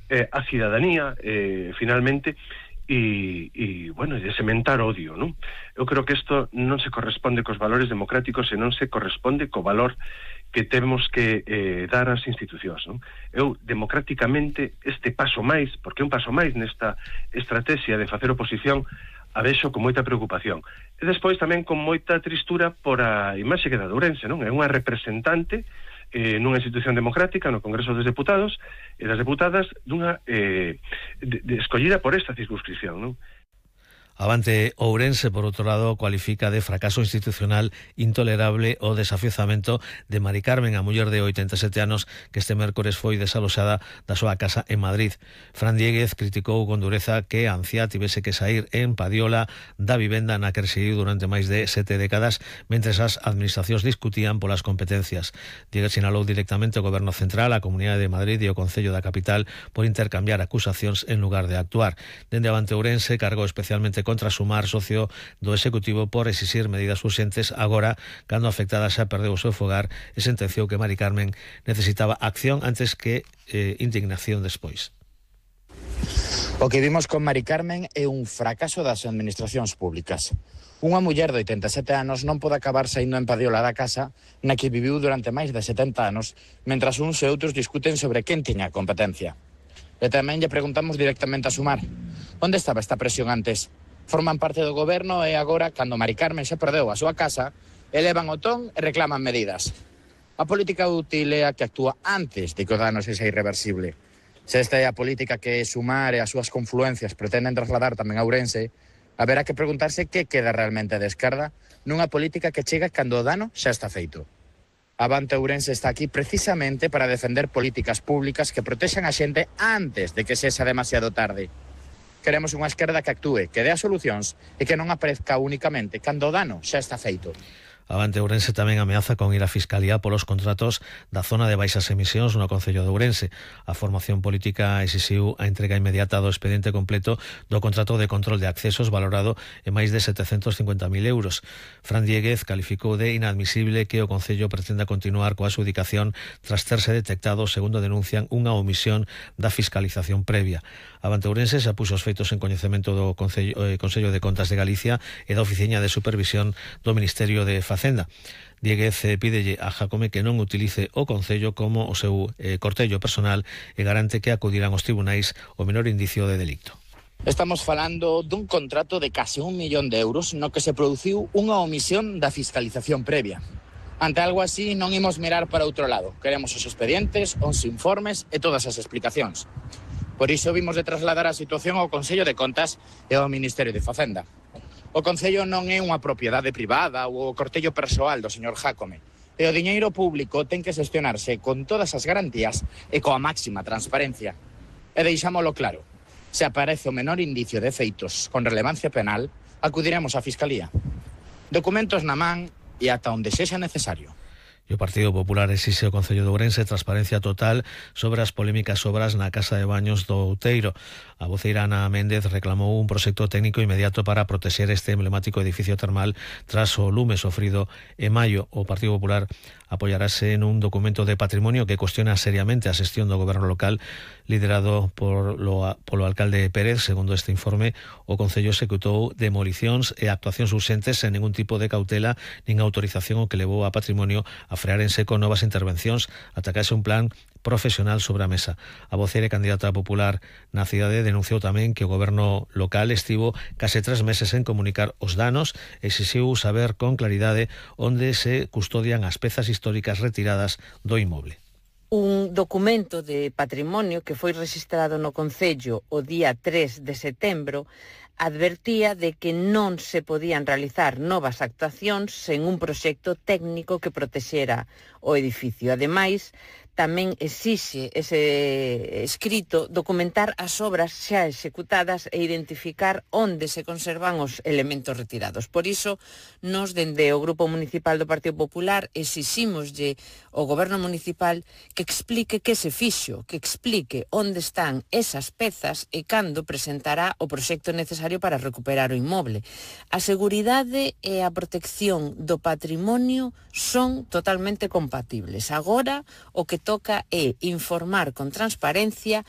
a cidadanía, finalmente, bueno, de sementar odio, non? Eu creo que isto non se corresponde cos valores democráticos e non se corresponde co valor que temos que dar ás institucións, non? Eu, democráticamente, este paso máis, porque é un paso máis nesta estrategia de facer oposición, a vexo con moita preocupación. E despois tamén con moita tristura por a imaxe que dá de Ourense, non? É unha representante nunha institución democrática, no Congreso dos Deputados e das Deputadas, dunha escollida por esta circunscripción, non? Avante Ourense, por outro lado, cualifica de fracaso institucional intolerable o desafiuzamento de Mari Carmen, a muller de 87 anos que este mércores foi desaloxada da súa casa en Madrid. Fran Diéguez criticou con dureza que a anciá tivese que sair en Padiola da vivenda na que residiu durante máis de 7 décadas, mentres as administracións discutían polas competencias. Diéguez sinalou directamente o Goberno Central, a Comunidade de Madrid e o Concello da Capital por intercambiar acusacións en lugar de actuar. Dende Avante Ourense cargou especialmente contra Sumar, socio do Executivo, por exixir medidas urxentes agora, cando a afectada xa perdeu o seu fogar e sentenciou que Mari Carmen necesitaba acción antes que indignación despois. O que vimos con Mari Carmen é un fracaso das administracións públicas. Unha muller de 87 anos non pode acabar saindo en Padiola da casa na que viviu durante máis de 70 anos, mentras uns e outros discuten sobre quen tiña competencia. E tamén lle preguntamos directamente a Sumar: onde estaba esta presión antes? Forman parte do goberno e agora, cando Mari Carmen xa perdeu a súa casa, elevan o ton e reclaman medidas. A política útil é a que actúa antes de que o dano sexa irreversible. Se esta é a política que Sumar e as súas confluencias pretenden trasladar tamén a Ourense, haberá que preguntarse que queda realmente de esquerda nunha política que chega cando o dano xa está feito. Avante Ourense está aquí precisamente para defender políticas públicas que protexan a xente antes de que sexa demasiado tarde. Queremos unha esquerda que actúe, que dea solucións e que non aparezca únicamente cando o dano xa está feito. Avante Ourense tamén ameaza con ir á Fiscalía polos contratos da zona de baixas emisións no Concello de Ourense. A formación política exixiu a entrega inmediata do expediente completo do contrato de control de accesos valorado en máis de 750.000 euros. Fran Diéguez calificou de inadmisible que o Concello pretenda continuar coa adxudicación tras terse detectado, segundo denuncian, unha omisión da fiscalización previa. Avante Ourense xa puxo os feitos en coñecemento do Consello de Contas de Galicia e da Oficiña de Supervisión do Ministerio de Facenda. Diéguez pídelle a Jácome que non utilice o Concello como o seu cortello personal e garante que acudirán aos tribunais o menor indicio de delicto. Estamos falando dun contrato de case 1 millón de euros no que se produciu unha omisión da fiscalización previa. Ante algo así non imos mirar para outro lado. Queremos os expedientes, os informes e todas as explicacións. Por iso vimos de trasladar a situación ao Consello de Contas e ao Ministerio de Facenda. O Concello non é unha propiedade privada ou o cortello persoal do señor Jácome. E o diñeiro público ten que xestionarse con todas as garantías e coa máxima transparencia. E deixámolo claro, se aparece o menor indicio de feitos con relevancia penal, acudiremos á Fiscalía. Documentos na man e ata onde sexa necesario. E o Partido Popular exixe ao Concello de Ourense transparencia total sobre as polémicas obras na Casa de Baños do Outeiro. A voceira Ana Méndez reclamou un proxecto técnico inmediato para protexer este emblemático edificio termal tras o lume sofrido en maio. O Partido Popular apoiarase en un documento de patrimonio que cuestiona seriamente a xestión do goberno local liderado polo alcalde Pérez. Segundo este informe, o Concello executou demolicións e actuacións urxentes sen ningún tipo de cautela nin autorización, o que levou a patrimonio a frear en seco novas intervencións ata que haxe un plan profesional sobre a mesa. A voceira e candidata popular na cidade denunciou tamén que o goberno local estivo case 3 meses en comunicar os danos e exixiu saber con claridade onde se custodian as pezas históricas retiradas do inmoble. Un documento de patrimonio que foi rexistrado no Concello o día 3 de setembro advertía de que non se podían realizar novas actuacións sen un proxecto técnico que protexera o edificio. Ademais, tamén exixe ese escrito documentar as obras xa executadas e identificar onde se conservan os elementos retirados. Por iso, nos dende o Grupo Municipal do Partido Popular exiximoslle ao Goberno Municipal que explique que se fixo, que explique onde están esas pezas e cando presentará o proxecto necesario para recuperar o inmoble. A seguridade e a protección do patrimonio son totalmente compatibles. Agora, o que toca é informar con transparencia